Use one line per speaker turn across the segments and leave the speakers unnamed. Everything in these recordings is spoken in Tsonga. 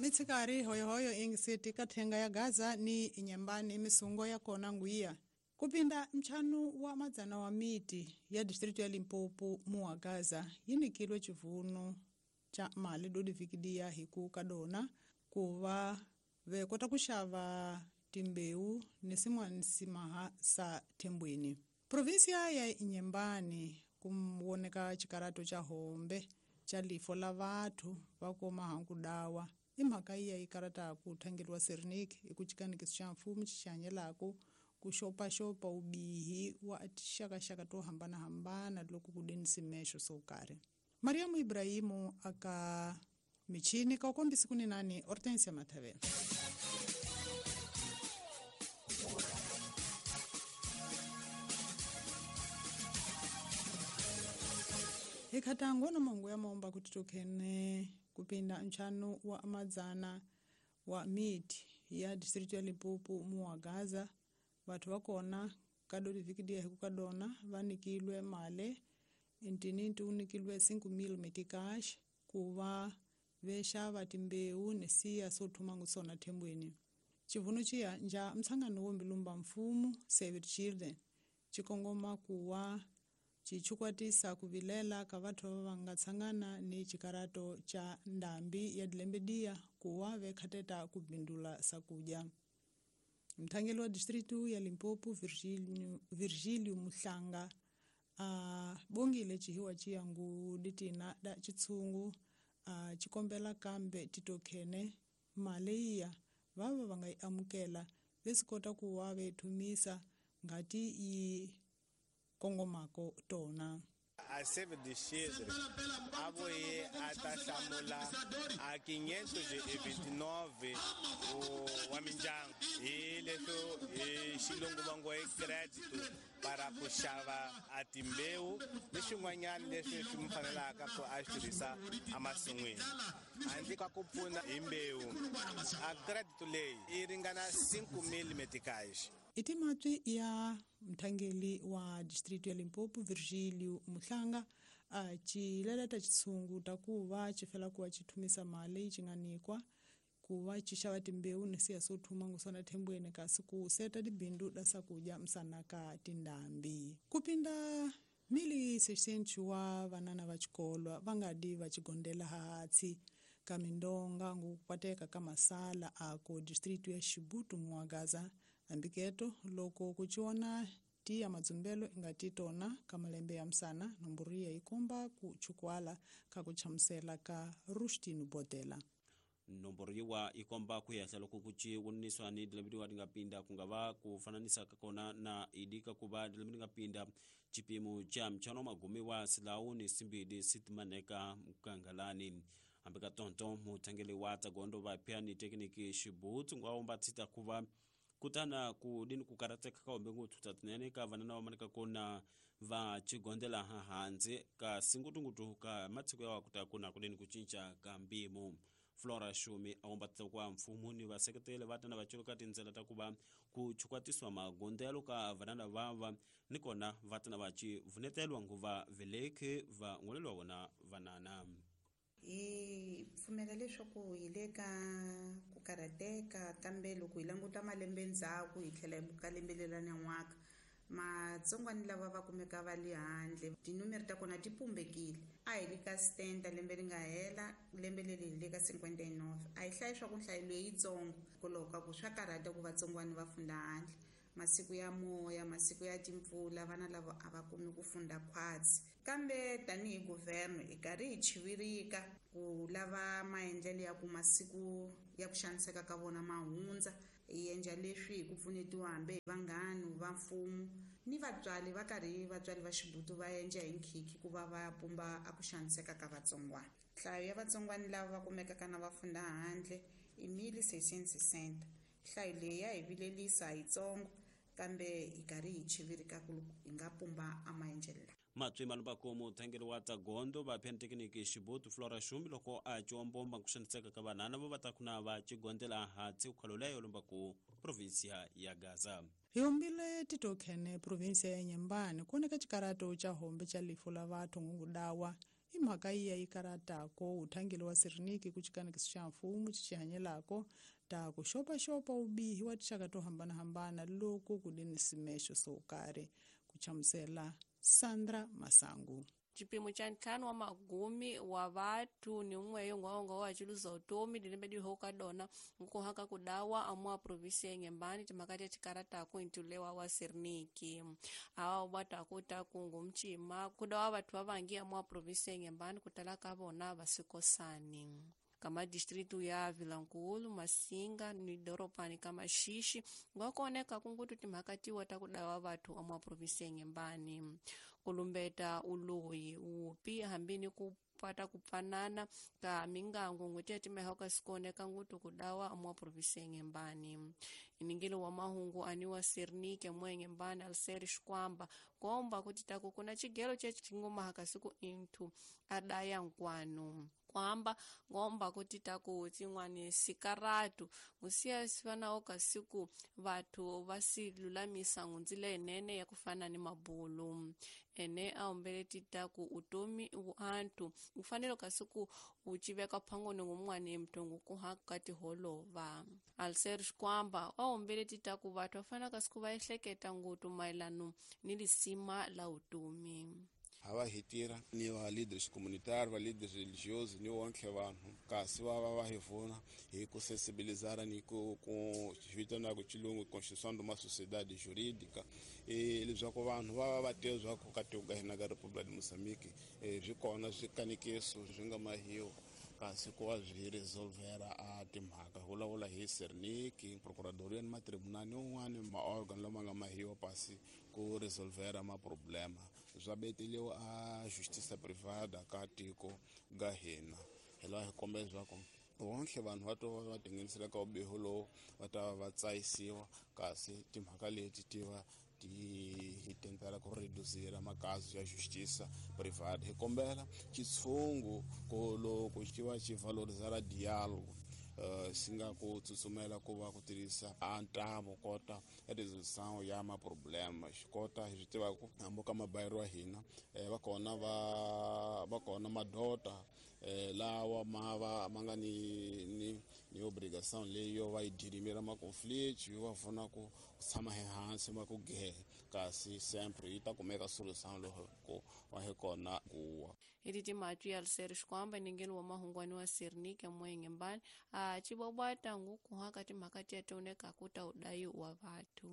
Mitsikari hoyohoyo ingisiti kathenga ya Gaza ni inyambani misungo ya kona nguiya kupinda mchanu wa madzana wa miti ya distritu ya Limpopo muwa Gaza yinikilwe chivunu cha mali dodi vikidia hiku kadona kuva vekota kuxava timbeu ni sin'wana simaha sa thembweni. Provinsia ya Inyembani kumwoneka xikarato xa hombe xa lifo la vathu va koma hanku dawa i mhaka iya yi karataku thangeliwa Sernik hi ku xikanikiso xa mfumo xi xihanyelaku ku xopaxopa vubihi wa tixakaxaka to hambanahambana loko ku deni simexo swo karhi. Mariamu Ibrahimu aka michini ka kombisi kuninani Hortensia Mathavela. Ikhatango na mongo ya momba kuti tokhene kupinda nchanu wa madzana wa miti ya distritu ya Limpopo muwa Gaza vathu vakona kadodi vikidia hiku kadona vanikilwe male intininti unikilwe 5,000 metikash kuva vexava timbeu ni siya swo thumangu sona thembweni. Xivunu xiya nja mtshangano wo mbilumba mfumo Save the Children xikongoma kuwa xichukwatisa ku vilela ka vathu va nga tshangana ni xikarato xa ndhambi ya dilembediya kuwa vekhateta ku bindula sakudya. Mthangeli wa distritu ya Limpopo Virgilio Muhlanga a bongile xihiwa xiyangu ditina da xitshungu a xikombela kambe titokhene mali iya vava va nga yi amukela ve swi kota ku wa ve thumisa ngati yi kongomako tona.
A Save the Children a voye a ta hlamula a 529 wa mindyangu hi leswo hi xilungu va ngo i credit para ku xava a timbewu ni swin'wanyana leswi swi mu fanelaka ku a swi tirhisa emasin'wini handle ka ku pfuna hi mbewu. A credit leyi yi ringana 5,000 meticais.
I timatswi ya mthangeli wa distritu ya Limpopo Virgilio Muhlanga a xileleta xitshungu ta ku va xi fela ku va xi thumisa mali xi nga nikwa ku va xi xava timbewu ni siya swo thuma ngusona thembweni kasi ku seta tibindu da sakudya msana ka tindhambi. Kupinda 1,600 wa vanana va xikolwa va nga di va xigondela hatsi ka mindonga ngukwateka ka masala a ko distritu ya Xibutu muwa Gaza. Ambiketo loko kuchiona tiya madzumbelo ingati tona ka malembe ya msana nomboro ya ikomba ku chukwala ka kuchamusela ka Rustino Botela.
Nomboro yiwa ikomba kuyahla loko kuchi wuniswa ni dilembe wa ngapinda kungava kufananisa kakona na idika kuba dilembe ngapinda chipimo cha mchano magumi wa silau ni simbidi sitmaneka mkangalani. Ambika tonto mutangeli wa tagondo va pia ni tekniki Xibutu ngwaomba tsita kuva kutana ku dini kukarateka ka ombe nguthu tatinene ka vanana wa manika kona va chigondela hanze ka singutungutu ka matsiko ya kuta kuna kudini kuchincha ka mbimo. Flora Shumi aomba kwa mfumo ni vaseketele vatana vachuluka tindzela ta kuva ku chukwatiswa magondelo ka vanana vava nikona vatana vachi vunetelwa nguva veleke va ngolelwa wona vanana.
Hi pfumela leswaku hi le ka ku karhateka kambe loko hi languta malembe ndzhaku hi tlhela hi buka lembe leri nyan'waka matsongwani lava va kumeka va le handle tinumere ta kona ti pumbekile. A hi le ka 70 lembe ri nga hela lembe leri hi le ka 59 a hi hlayi swa ku nhlayo leyi yitsongo hikwalaho ka ku swa karhata ku vatsongwani va funda handle masiku ya moya masiku ya timpfula vana lava a va kumi ku funda khwatsi kambe tanihi guvernme hi karhi hi chivirika ku lava maendlelo ya ku masiku ya ku xaniseka ka vona ma hundza hi endla leswi hi ku pfunetiwa hambi hi vanghani va mfumo ni vatswari va karhi vatswari va Xibutu va endla hi nkhikhi ku va va pumba a ku xaniseka ka vatsongwana. Nhlayo ya vatsongwana lava va kumekaka na va funda handle i 1,660. Nhlayo leyi ya hi vilelisa yitsongo kambe hi karhi hi chivirika ku hi nga pumba a maendlelo lawa.
Matswi malubako muthangeli wa tagondo va phentekiniki Xibutu Flora Shumi loko a ciwombomba ku xaniseka ka vanhana vo va ta kuna va cigondela hatsi ukhaloleyo lumbaku provinsia ya Gaza.
Hi hombile titokhene provinsia ya Nyembani kuoneka xikarato xa hombe xa lifu la vathu ngudawa I mhaka yiya yi karatako uthangeli wa Sirniki ku xikanekiso xa mfumo xi xihanyelako ta ku xopaxopa ubihi wa tinxaka to hambanahambana loko ku li ni swimexo swo karhi, ku hlamusela Sandra Masangu.
Chipimo cha ntlhanu wa magumi wa vathu ni umwe yongwaonga wa chiluza utomi dilembe dihoka dona nkuhaka kudawa amwa provinsi ya Inhambane timakati ya chikaratako intulewa wa Sirniki awa ubwatako takungu mchima kudawa vathu vavangi amwa provinsi ya Inhambane kutala ka vona vasikosani kama distritu ya Vilankulu, Masinga ni doropani kama Xixi ngwakuoneka kungutu timhakatiwa ta kudawa vathu amwa provinsi ya Inhambane kulumbeta uloyi wupi hambini kupata kupfanana ka mingangu ngweti ya timehoka sikuoneka ngutu kudawa amwa provinsi ya Inhambane. Iningilo wa mahungu aniwa Sirnike mwe Inhambane Alceri Xikwamba komba kuti taku kuna chigelo che chingoma hakasiku inthu adaya nkwanu kwamba ngomba kuti taku tsin'wani sikaratu ngusiya sifanawo kasiku vathu va silulamisa ngundzila yenene ya kufana ni mabulu ene aombele titaku utomi anthu ufanele kasiku uciveka phangoni ngumwani mtongo kuhaka tiholova. Alcer Xikwamba aombele titaku vathu vafana kasiku va ehleketa ngutu mayelano ni lisima la utomi.
Hava hi tirha ni va leaders communitary, va leaders religiosos ni wonke vanhu kasi va va va hi pfuna hi ku sensibilizara ni ku vitana ku xilungu construção de uma sociedade jurídica leswaku vanhu va va va tiva leswaku ka tiko ka hina ka República de Moçambique swi kona swikanekiso swi nga mahiwa kasi ku va swi resolvera a timhaka vulavula hi Sirniki, procuradoria ni matribunal un'wana maorgan lama nga mahiwa pasi ku resolvera maproblema swa beteliwa a justiça privada ka tiko ga hina. Hi laha hi kombela leswaku wonke vanhu va to va tinghenisela ka ubiho lowu va ta va tsayisiwa kasi timhaka leti ti va ti hi tentela ku reducira makazi ya justiça privada. Hi kombela xitshungu ku loko xi va xi valorizara diálogo xi nga ku tsutsumela ku va ku tirhisa a ntambu kota resolução ya maproblema xi kota hi swi tiva ku hambi ka mabayiro wa hina va kona va kona madota lawa ma va ma nga ni ni obrigação leyi yo va yi dirimela ma-conflito yo va pfuna ku tshama ehansi ma ku gehe kasi sempre yi ta kumeka solução loko va hi kona kuwa.
Eti timatwi ya Alceri Xikwamba ningeni wa mahungwani wa Sirniki mwe Inhambane a cibwabwata ngukuhaka timhaka tiya tioneka kuta udayi wa vathu.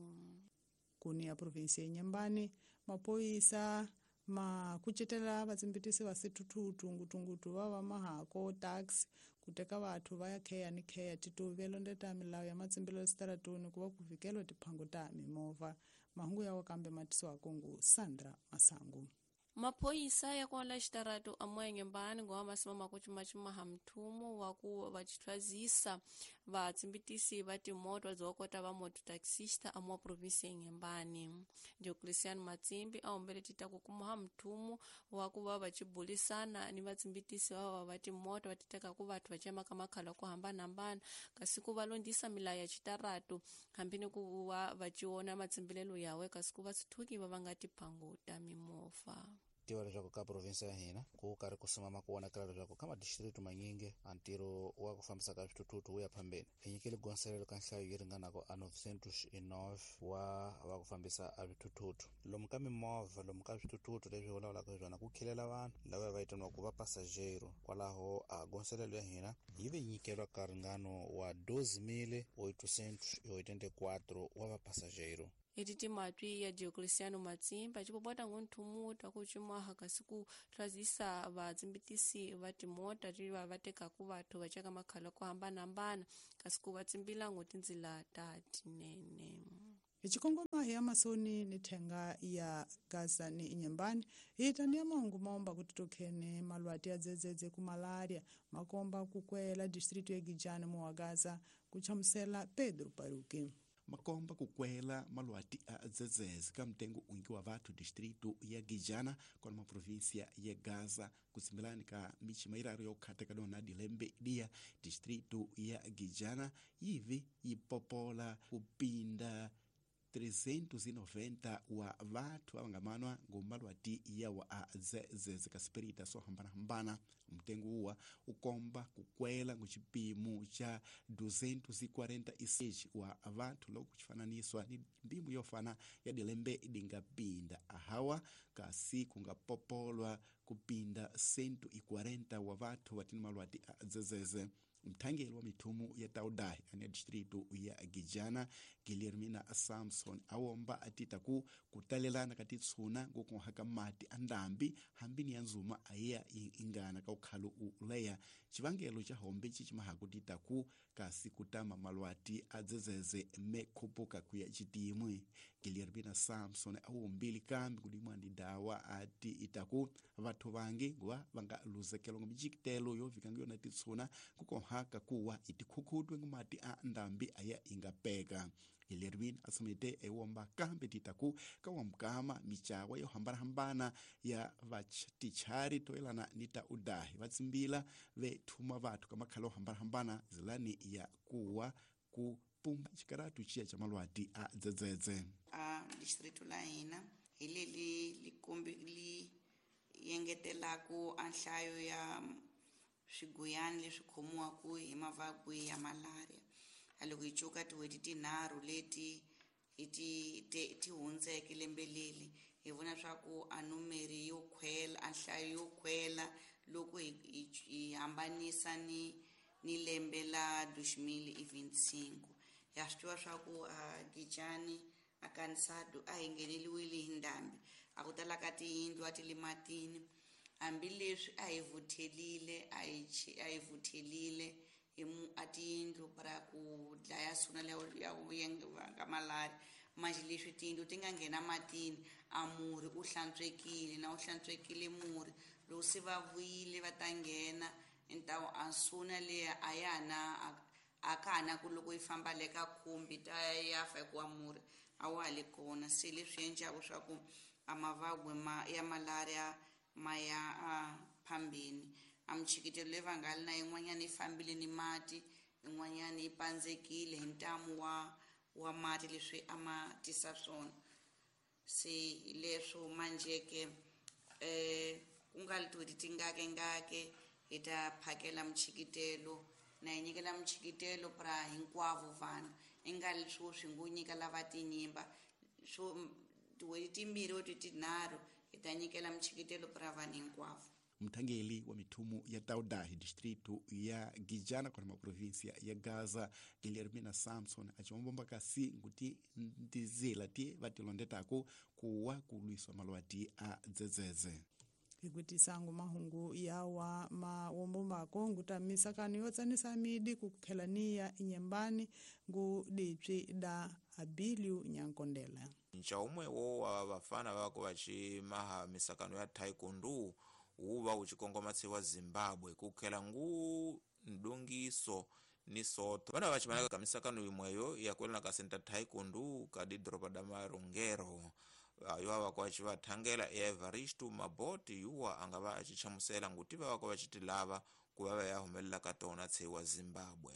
Kuni ya provinsi ya Inhambane mapoyisa ma kucetela vatsimbitisi va swithuthuthu ngutungutu va va mahako taxi ku teka vathu va ya kheya ni kheya tituvi londeta milawu ya matsimbelo eswitarateni ku va ku vhikeliwa tiphangu ta mimovha. Mahungu yawa kambe matisiwako ngu Sandra Masangu.
Maphoyisa ya kwala xitaratu amwe Inhambane ngowa masima makucimacimaha mthumo wa ku va chithwazisa vatsimbitisi va timoto dzokota va mototaxista amwa provinsi ya Inhambane. Diocleciano Matsimbi a humbele titaku kumuha mthumo wa ku va va chibulisana ni vatsimbitisi va va timoto va titekaku vathu va cemaka makhala ku hambanahambana kasi ku va londisa milawu ya xitaratu hambi ni ku va va ciona matsimbilelo yawe kasi ku va swithuki va va nga tiphangu ta mimovha.
Tiva leswaku ka provinsi ya hina ku karhi ku simama ku vonakala leswaku ka madistritu manyingi a ntirho wa ku fambisa ka swithuthuthu wu ya phambeni. Hi nyikele gonselelo ka nhlayo yi ringanaka a 909 wa va ku fambisa a swithuthuthu lomu ka mimovha lomu ka swithuthuthu leswi vulavulaka hi swona ku khilela vanhu lava va vitaniwaka va pasajero. Kwalaho a gonselelo ya hina yi ve nyikeriwa ka ringano wa 12.884 wa va pasajero.
Eti timatwi ya Diocleciano Matsimba cipopota ngunthumuta kucimaha kasi ku tlwazisa vatsimbitisi va timota ti va va tekaku vathu va ceka makhala ku hambanahambana kasi ku va tsimbila ngo tindzila ta tinene.
Hi xikongoma hi ya masoni ni thenga ya Gaza ni Inhambane hi ta ni ya mahungu maomba ku titokhene malwati ya dzedzedze ku malaria makomba ku kwela distritu ya Gijani mu wa Gaza ku chamusela Pedro Paruki.
Makomba kukwela malwati a dzedzedze ka mtengo ungi wa vathu distrito ya Gijana kona maprovinsia ya Gaza kutsimbelani ka michima iraru ya ukhata ka dona dilembe dia distrito ya Gijana yivi yipopola kupinda 390 wa vathu avangamanwa ngomalwati yawa a dzedzedze ka sipirita swo hambanahambana. Mtengo uwa ukomba kukwela nguchipimo cha 246 wa vathu loko kuchifananiswa ni mbimu yofana ya dilembe idingapinda ahawa kasi kungapopolwa kupinda 140 wa vathu vatini malwati a dzedzedze. Mthangeli wa mithumu ya Taudahi ane distrito ya Gijana Guilhermina Samson awomba atita ku kutalelana ka titshuna ngokuhaka mati a ndambi hambini ya nzuma ayiya ingana ka ukhalo uleya chivangelo cha hombe chichimahaku tita ku kasi kutama malwati a dzedzedze mekhupuka kuya chitimwe. Guilhermina Samson awombili kambi kudimwa ndi dawa ati itaku vathu vangi nguva vanga luzekelwa nga mijikitelo yovikanga yona titshuna kukohaka kuwa itikhukhutwe ngumati a ndambi aya ingapeka. Guilhermina asomete ewomba kambi titaku kawamkama michawa yo hambanahambana ya vatichari toelana ni ta udahi vatsimbila vethuma vathu kamakhala ohambanahambana zilani ya kuwa kupumba chikaratu chiya cha malwati a dzedzedze.
A distrito la hina hi leli likombi li yengetelaku a nhlayo ya swiguyani leswi khomiwaka hi mavabyi ya malaria. A loko hi cuka tin'hweti tinharhu leti hi ti hundzeke lembe leli hi vona swa ku a numeri yo khwela a nhlayo yo khwela loko hi hambanisa ni lembe la 2025. Ya swi tiva swa ku a Gijani a Kansado a hi ngheneliwile hi ndhambi, a ku tala ka tiyindlu a ti le matini, hambileswi a hi vuthelile a hi vuthelile hi a tiyindlu para ku dlaya suna ya ka malaria. Manje leswi tiyindlu ti nga nghena matini a murhi u hlantswekile na u hlantswekile murhi loko se va vuyile va ta nghena ntawu a suna leya a ya na a ka ha na ku loko yi famba le ka khumbi ta ya fa hikuva murhi a wa ha le kona. Se leswi endlaku swa ku a mavabyi ya malaria ma ya a phambeni. A michikitelo leyi va nga li na yin'wanyana yi fambile ni mati, yin'wanyana yi pandzekile hi ntamu wa mati leswi a ma tisa swona. Se hi leswo manjhe-ke ku nga li tin'hweti tingakengake hi ta phakela michikitelo na hi nyikela michikitelo pra hinkwavo vanhu i nga li swo swi ngo nyika lava tinyimba swo tin'hweti timbirhi or tinharhu hi ta nyikela michikitelo pra vanhu hinkwavo.
Mthangeli wa mithumu ya Taudahi distrito ya Gijana kona maprovinsia ya Gaza Guilhermina Samson achiwombomba kasi nkuti ndizila ti vatilondetako kuwa kulwiswa malwati a dzedzedze.
Hikutisangu mahungu yawa mawombomako nguta misakano yo tsanisa midi kukhelaniya inyembani ngu dipsi da Abiliu Nyankondela.
Nchaumwe wo wa vafana vako vachimaha misakano ya taekwondo uva uchikongomatsi wa Zimbabwe kukhela ngu ndungiso ni soto vana vachimanaka ka misakano imweyo yakwelana ka senta taekwondo ka didoropa da Marongero ayo avako achivathangela ya Evaristo Maboti yuwa angava achichamusela nguti vavako vachitilava kuva va ya humelela ka tona tsewa Zimbabwe.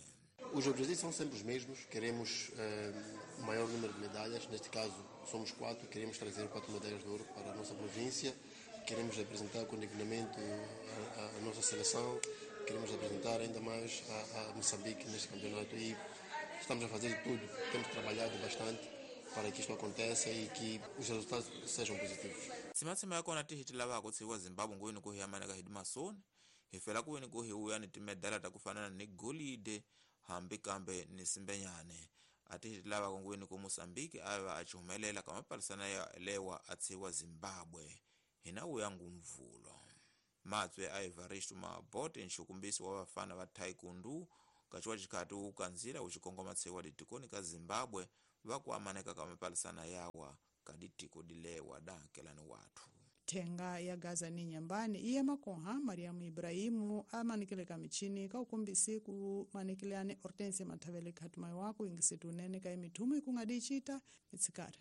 Os objetivos são sempre os mesmos, queremos o maior número de medalhas, neste caso somos 4, queremos trazer 4 medalhas de ouro para a nossa província, queremos apresentar com dignamente a nossa seleção, queremos apresentar ainda mais a Moçambique neste campeonato e estamos a fazer tudo, temos trabalhado bastante para que isto aconteça e que os resultados sejam positivos.
Tsimatsima yakona tihitilavako tsiwa Zimbabwe ngweni kuhiyamaneka hidimasoni hifela kuweni kuhiuya ni timedala ta kufanana ni golide hambi kambe ni simbenyane atihitilavako ngweni ku Mosambiki ava achihumelela ka mapalisana ya lewa atsiwa Zimbabwe hina uya ngumvulo. Matswe a Evaristo Mabote nxukumbisi wa vafana va taekwondo kachiwa chikhati ukanzira uchikongoma tsiwa ditikoni ka Zimbabwe vakuamaneka ka mapalisana yawa kaditiko dilewa da kelani wathu.
Thenga ya Gaza ni nyambani iye makoha Mariamu Ibrahimu amanikile ka michini ka ukumbisi kumanikilane Hortense Mathavele khatumai wako ingisitu unene ka imithumu ikungadichita itsikare.